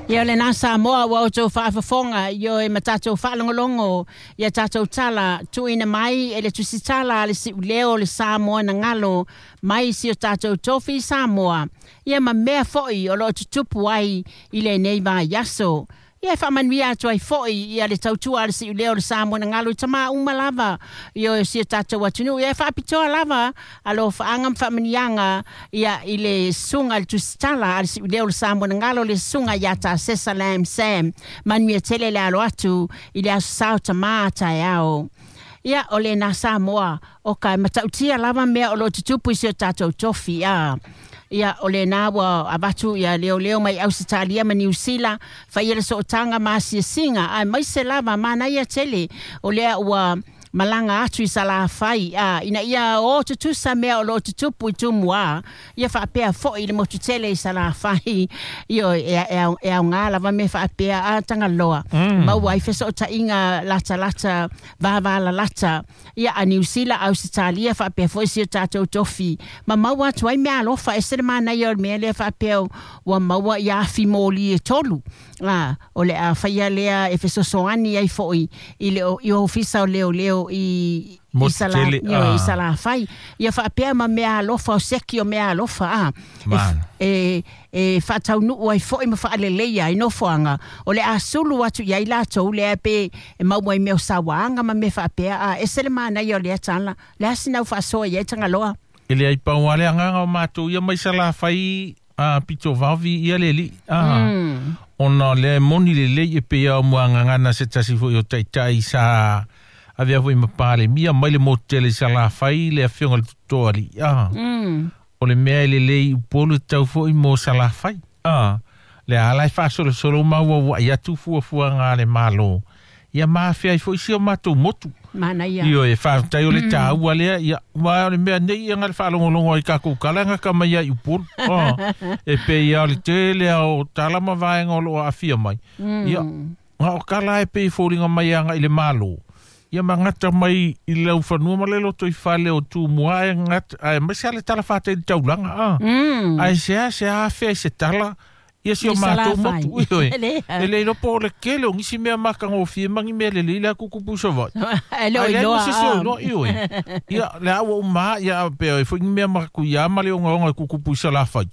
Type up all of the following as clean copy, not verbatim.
Ia lena Samoa ua outou faafofoga, ioe, ma tatou faalogologo ia tatou tala tuuina mai e le tusitala a le siuleo o le Samoa na galo mai si o tatou tofi Samoa, ia ma mea foi o loo tutupu ai i lenei vaiaso. Ia e faamanuia atu ai foi ia le tautua a le siuleo o le Samoa na galo i tamaa uma lava i o si o tatou atunuu. Ia e faapitoa lava alofaaga ma faamanuiaga ia i le susuga i le tusitala a le siuleo o le Samoa na galo, le susuga ia Tasesa Lam Sam. Manuia tele le alo atu i le aso sao tamā taeao. Ia o lena Samoa o ka matautia lava mea o loo tutupu i si o tatou tofi. A ia o lena ua avatu ia leoleo mai Ausetalia ma Niu Sila faia le sootaga ma asiasiga aemaise lava manaia tele o lea ua malaga atu i Salafai a ina ia o tutusa mea o loo tutupu i Tumua, ia faapea foi i le motu tele i Salafai. Io e aoga lava mea faapea a Tagaloa maua ai fesootaiga latalata vavalalata ia a Niu Sila, Ausetalia faapea foi si o tatou tofi ma maua atu ai mea alofa. Ese le manaia o le mea lea faapea ua maua ia afi moli e tolu a o le a faia lea e fesoasoani ai foi i le i ofisa o leoleo i i Salafai, ia faapea ma mea alofa o seki o mea alofa a e faataunuu ai foi ma faaleleia ai nofoaga o le a sulu atu i ai latou lea pe e maua ai mea o sauaga ma mea faapea. A ese le manaia o lea tala le a sinau faasoa i ai Tagaloa. E le ai pau ale agaga o matou ia mai Salafai a pito vavi ia le li a ona le moni le lei e pe ia o muagagana se tasi foi o taitai sa avea foi ma palemia mai le motu tele i Salafai le afioga i le Totoali a o le mea e lelei i Upolu e tau foi mo Salafai a le ala e faasolosolo ma ua ua'i atu fuafuaga a le Malo ia ma afea ai foi si o matou motu. Manaia. Io e faafetai o le taua lea ia ua o le mea nei ia ga le faalogologo ai takou tala ga ka mai ai Upolu e pei ia o le tele a o tala ma vaega o loo aafia mai ia ga o tala e pei foliga mai aga i le Malo ia magata mai i le laufanua ma le loto i fale o Tumua ae gata ae aemaise a le tala faatali taulaga a ae sea sea afea i se tala ia si o matou motu ioe e le iloa po o le kele o nisi mea makagofie ma ni mea lelei le akukupu i Savaii. E le o iloa. Se se o iloa ioe. Ia le a ua uma ia pe e foi ni mea makakuia ma le ogaoga e kukupu i Salafai.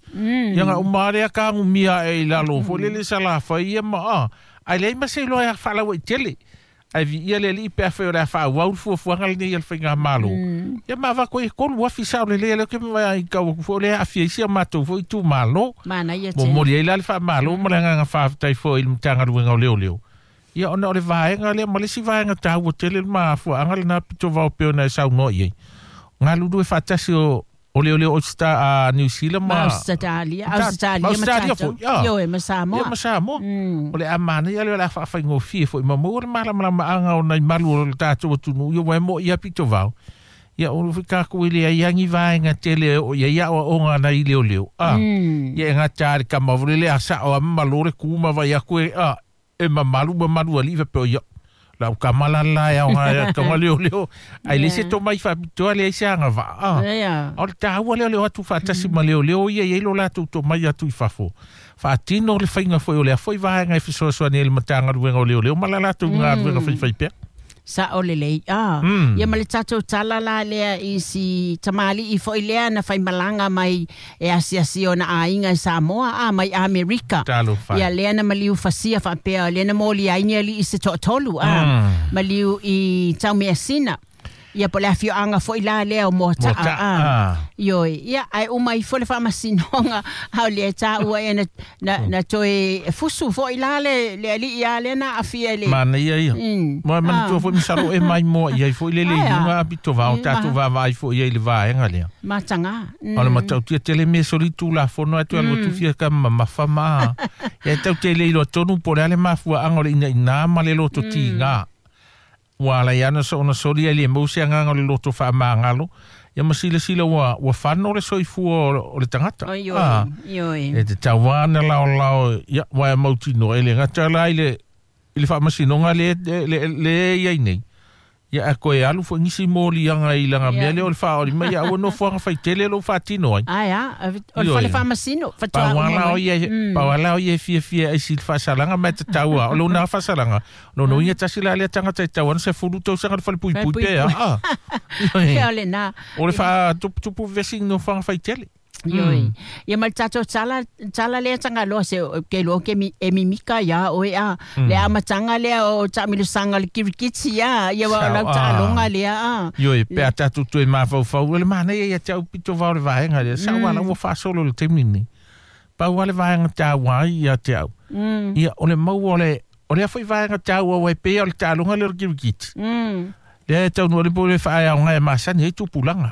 Ia ga uma lea ka agumia ae i lalo foi lele Salafai ia ma a ae leai ma se iloa e faalauaitele. Ai vi ia le alii pe afai o le a faaauau le fuafuaga lenei a le faigamalo. Ia ma avatu ai e 3,000 sao lelei a lea ou te vaai tau atu foi o lea e aafia ai si a matou foi itumalo. Manaia tele. Momoli ai la le faamalo ma le agaga faafetai foi i le Matagaluega o Leoleo. Ia ona o le vaega lea ma le isi vaega taua tele le mafuaaga lena pito vao pei ona e saunoa i ai. Galulue faatasi o o leoleo a Niu Sila ma Ausetalia, Ausetalia ma Australia tatou. foi. Ioe, ma Samoa. Ia ma Samoa. O le a manaia lea o le a faafaigofie foi ma maua le malamalamaaga o nai malu o le tatou atunuu ia ua e mo'i ia pito vao. Ia o foi takou e leai lava ni vaega tele o i ai aoaoga nai leoleo. Ia e gata lava i le tama foi lele a sao lava ma malo le ku ma vaai atu e a e mamalu mamalu alii faapea ia lau tama la la e aoga e taoga leoleo ae leai se tomai faapitoa leai se agavaa a o le taua lea o le o atu faatasi ma leoleo ia e i ai lo latou tomai atu i fafo faatino le faiga foi o lea foi vaega e fesoasoani ai i le Matagaluega o Leoleo ma la latou galuega faifaipea. Sao lelei. Ah, ia ma le tatou tala la lea i si tamalii foi lea na faimalaga mai e asiasi ona aiga i Samoa, a mai Amerika. Talofa. Ia lea na maliu fasia faapea, lea na molia ai ni alii se toatolu, a maliu i Taumeasina. Ia po o le afioaga foi la lea o Moataa. Moataa, A. ah. Ioe. Ia, ae uma ifo le faamasinoga, a o lea taua ea na, na, na toe fusu foi la le, le alii a lea na aafia i le... Manaia ia. Ma manatua foi masalo e maimoa i ai foi le le Ae a. iuga a pito vao E, tatou vaavaai foi i ai i le vaega lea. Mataga. O le matautia tele mea soli tulafono ae toe alu atu fia ka mamafa ma. Ia e tau te le iloa tonu po o le a le mafuaaga o le inaina ma le loto tiga. Ua ala ai ana ona soli ai le mau se agaga o le loto faamagalo. Ia ma silasila ua, ua fano le soifua o le tagata. Oi, oi, Ah. oi. E te tauana laolao, ia, ua e mautinoa e le gata la i le, i le faamasinoga le, le, le, le i ai nei. Ia a koe alu foi nisi moliaga i laga mea lea o le faaoli mai ia aua nofoaga faitele lou faatino ai. Ae a o le Ioe. fale faamasino faatoa Pau uma ala o mai. ia, pau ala o ia e fiafia ai si le faasalaga ma e tatau a. O lona faasalaga, lona uiga tasi la lea tagata e tau ana 10 tausaga le falepuipui pe a. Ah. Ia Ioe. o lena. O le faatuputupu vesi i nofoaga faitele. Ioe. Ia ma le tatou tala tala lea tagaloa se ke loa ke mi e mimika ia oe a. Le amataga lea o taamilosaga o le kirikiti ia. Ia ua o Sao, lau ah. taaloga lea a. Ioe, pe a tatou toe mafaufau, o le manaia ia te au pito vao le vaega lea. Sa ua la ua faasolo i le taimi lenei. Pau lava le vaega taua ai ia te au. Ia, o le maua o le, o lea foi vaega taua ua e pei o le taaloga lea o le kirikiti. Lea e taunuu le po le faaeaoga e masani ai tupulaga.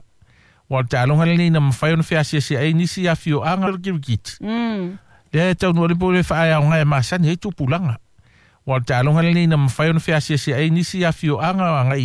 Ua o le taaloga lenei na mafai ona feasiasi ai nisi afioaga o le kirikiti. Lea e taunuu le po le faaeaoga e masani ai tupulaga. Ua o le taaloga lenei na mafai ona feasiasi ai nisi afioaga agai